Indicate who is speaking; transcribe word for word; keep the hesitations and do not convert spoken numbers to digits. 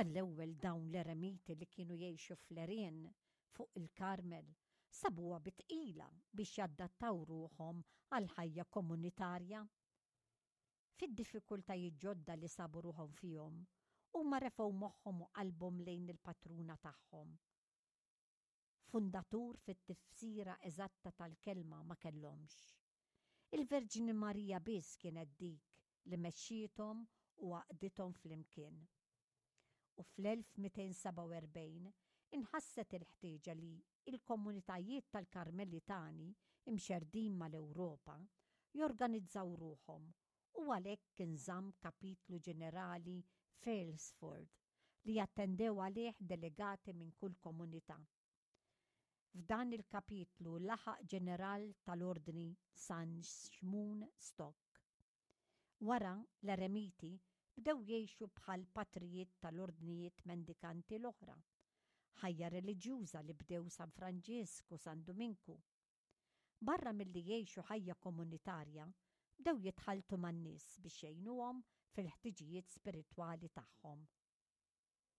Speaker 1: Għall-ewwel dawn l-eremiti li kienu jgħixu fl-għerien fuq il-Karmel sabuha bi tqila biex jadattaw ruħhom għal ħajja komunitarja. Fid-diffikultajiet ġodda li sabu ruħhom fihom, huma refgħu moħħhom u qalbhom lejn il-patruna tagħhom. Fundatur fit-tifsira eżatta tal-kelma ma kellhomx. Il-Verġni Marija biss kienet dik li mexxiethom u għaqqdithom flimkien. U fl-elf mitejn sebgħa u erbgħin inħasset il-ħtieġa li il-komunitajiet tal-Karmelitani imxerdin mal-Ewropa jorganizzaw ruħhom u għalhekk inżamm kapitlu ġenerali f'Aylesford li jattendew għalih delegati minn kull komunità. F'dan il-kapitlu laħaq ġeneral tal-Ordni San Xmun Stock. Wara, l-eremiti bdew jgħixu bħal patrijiet tal-ordnijiet mendikanti l-oħra. Ħajja reliġjuża li bdew San Franġisku, San Duminku. Barra milli jgħixu ħajja komunitarja, bdew jitħaltu man-nies biex jgħinuhom fil-ħtiġijiet spiritwali tagħhom.